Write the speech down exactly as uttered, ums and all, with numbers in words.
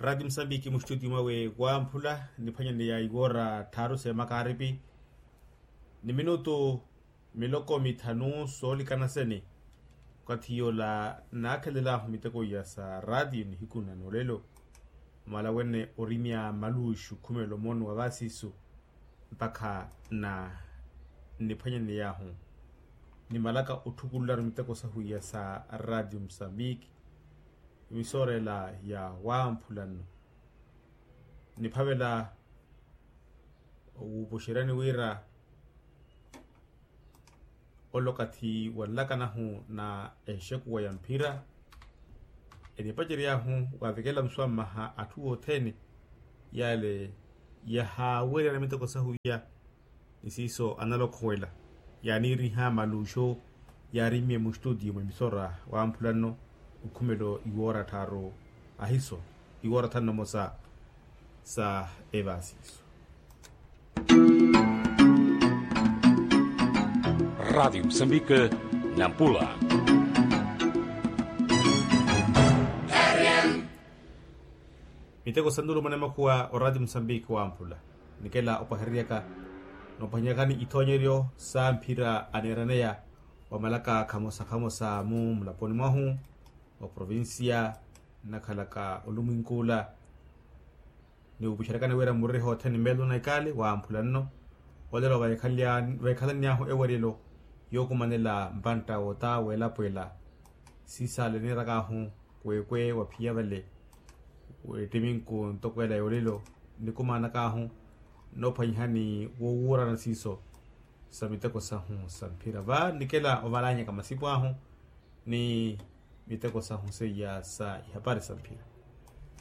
Raati musambiki mustutiyo mwawe wamphula niphwanyaneya iwoora tthaaru seemakaaripi ni minutu miloko mithanu soolikana sene. Okathi yoola naakhelelaahu miteko iya sa raatiyo nihiku na noolelo, mwala wene orimya maluuxu khumela omooni wa vaasiisu mpakha na niphwanyaneyaahu nimalaka otthukulularu miteko sahu iya sa raatiyo musambiki. Emisoorela ya wamphula nno niphavela owuupuxeryani wira ole okathi wanlakanahu na enxekuwa ya mphira enipacery'ahu wavikela muswammaha atthu othene yale yahaawerya na miteko sahu iya. Ni siiso analokhuwela yaaniiriha maluuxu yaarimmye mustutiyo mwa emisoora wamphula nno okhumelo iwoora tthaaru ahiso iwoora tthanu na mosa sa evaasiiso. Raatiyo musambike nampula. Miteko sa nulumana emakhuwa oraatiyo musambiki wamphula nikela opahereryaka noopahanyakani ithoonyeryo sa mphira aneeraneya wamalaka khamosa khamosa mu mulaponi mwahu oprovincia nnakhalaka olumwinkuula. Niwupuxeryakani wira muriho othene mmeelo na ikaali wamphula nno olelo veekhalanny'ahu eweryelo yookumanela mpantta wota weelapwela siisaale niirak'ahu kweekwe waphiya vale wettiminku ntoko ela yoolelo nikumaanak'ahu noophwanyihani woowuurana siiso sa miteko sahu sa mphira va nikela ovalanyaka masipu ahu ni miteko sahu seiya sa ihapari sa mphira.